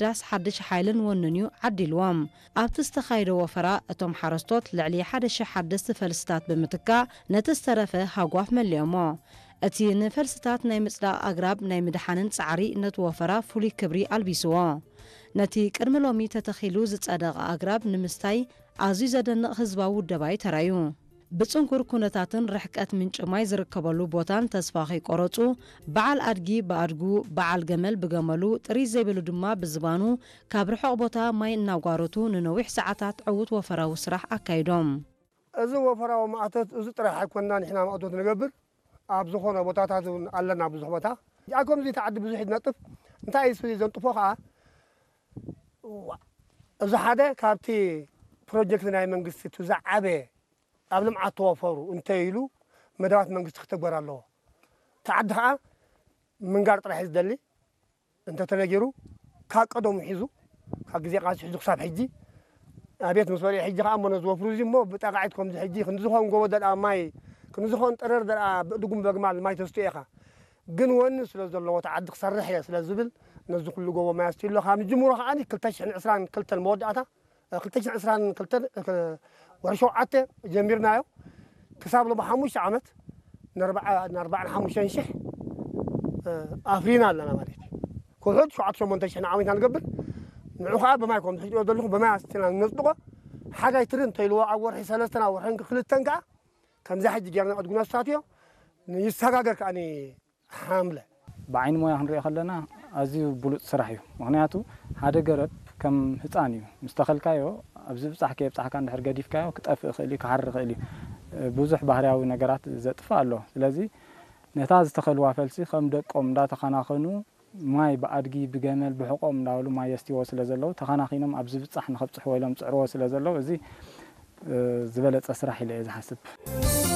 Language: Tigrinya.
ምሕዳስ ሓድሽ ሓይልን ወንን እዩ ዓዲልዎም። ኣብቲ ዝተኻየደ ወፈራ እቶም ሓረስቶት ልዕሊ ሓደ ሽሕ ሓደስቲ ፈልስታት ብምትካእ ነቲ ዝተረፈ ሃጓፍ መሊኦሞ። እቲ ንፈልስታት ናይ ምጽዳቕ ኣግራብ ናይ ምድሓንን ጻዕሪ ነቲ ወፈራ ፍሉይ ክብሪ ኣልቢስዎ። ነቲ ቅድሚ ሎሚ ተተኺሉ ዝጸደቐ ኣግራብ ንምስታይ ኣዝዩ ዘደንቕ ህዝባዊ ውደባ እዩ ተራዩ። ብጽንኩር ኩነታትን ርሕቀት ምንጪ ማይ ዝርከበሉ ቦታን ተስፋ ከይቆረጹ፣ በዓል ኣድጊ ብኣድጉ፣ በዓል ገመል ብገመሉ፣ ጥሪት ዘይብሉ ድማ ብዝባኑ ካብ ርሑቕ ቦታ ማይ እናጓረቱ ንነዊሕ ሰዓታት ዕዉት ወፈራዊ ስራሕ ኣካይዶም። እዚ ወፈራዊ ማእቶት እዚ ጥራሕ ኣይኮንና ንሕና ማእቶት ንገብር፣ ኣብ ዝኾነ ቦታታት እውን ኣለና ብዙሕ ቦታ። እዚኣ ከምዚ እቲ ዓዲ ብዙሕ እዩ ዝነጥፍ። እንታይ እዩ ዘንጥፎ ከዓ? ዋ፣ እዚ ሓደ ካብቲ ፕሮጀክት ናይ መንግስቲ እቲ ዝዓበየ ኣብ ልምዓት ተወፈሩ እንተ ኢሉ መደባት መንግስቲ ክተግበር ኣለዎ። እቲ ዓዲ ከዓ ምንጋር ጥራሕ እዩ ዝደሊ። እንተተነጊሩ ካብ ቀደሙ ሒዙ ካብ ግዜ ቃልሲ ሒዙ ክሳብ ሕጂ ኣቤት ምስ በልየ ሕጂ ከዓ እሞ ነዚ ወፍሩ እዚ እሞ ብጠቃዒት ከምዚ ሕጂ ክንዲ ዝኾን ጎቦ ደልኣ ማይ ክንዲ ዝኾን ጠረር ደልኣ ብእድጉም በግማል ማይ ተስትዮ ኢኻ። ግን ወኒ ስለ ዘለዎ እቲ ዓዲ ክሰርሕ እየ ስለ ዝብል ነዚ ኩሉ ጎቦ ማይ ኣስትዩ ኣሎ። ካብ ንጅምሮ ከዓ ክልተ ሽሕን ዕስራን ክልተን መወዳእታ ክልተ ሽሕን ዕስራን ክልተን ወርሒ ሸውዓተ ጀሚርናዮ ክሳብ ሎሚ ሓሙሽተ ዓመት ንኣርባዓ ንኣርባዓን ሓሙሽተን ሽሕ ኣፍሪና ኣለና ማለት እዩ። ክውሕድ ሸውዓተ ሸሞንተ ሽሕ ንዓመት ኢና ንገብር። ንዑ ከዓ ብማይ ከም ዝሕጅኦ ዘለኹ ብማይ ኣስቲና ነፅድቆ። ሓጋይ ትሪ እንተይልዎ ኣብ ወርሒ ሰለስተን ኣብ ወርሒ ክልተን ከዓ ከምዛ ሕጂ ጌርና ዕድጉ ነሳትዮ ይሰጋገር ከዓኒ ሓምለ። ብዓይኒ ሞያ ክንሪኦ ከለና ኣዝዩ ብሉፅ ስራሕ እዩ። ምኽንያቱ ሓደ ገረብ ከም ህፃን እዩ። ምስ ተኸልካዮ ኣብዚ ብፃሕ ከየብፃሕካ እንድሕር ገዲፍካዮ ክጠፍእ ይኽእል እዩ፣ ክሓሪ ይኽእል እዩ። ብዙሕ ባህርያዊ ነገራት ዘጥፍእ ኣሎ። ስለዚ ነታ ዝተኸልዋ ፈልሲ ከም ደቆም እንዳተኸናኸኑ ማይ ብኣድጊ ብገመል ብሕቆም እንዳበሉ ማይ የስትይዎ ስለ ዘለዉ ተኸናኺኖም ኣብዚ ብፃሕ ንኸብፅሕዎ ኢሎም ፅዕርዎ ስለ ዘለዉ እዚ ዝበለፀ ስራሕ ኢለ እየ ዝሓስብ።